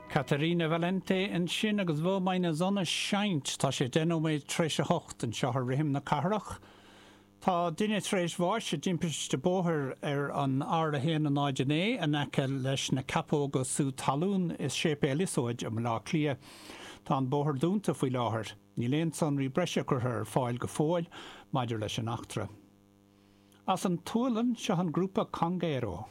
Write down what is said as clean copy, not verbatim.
Caterina Valente ansin agus Wo meine Sonne scheint. Tá sé 10 nóiméad tar éis a hocht anseo ar Rithim na Cathrach. Tá duine tar éis bháis i dtimpiste bóthair ar an R1 09 in aice leis na Ceapóga Sú Talún i Séipéal Iosóid i mBaile Átha Cliath. Tá an bóthar dúnta faoi láthair. Níl aon sonraí breise curtha ar fáil go fóill maidir leis an eachtra. As an tSualainn, seo an grúpa Conguero.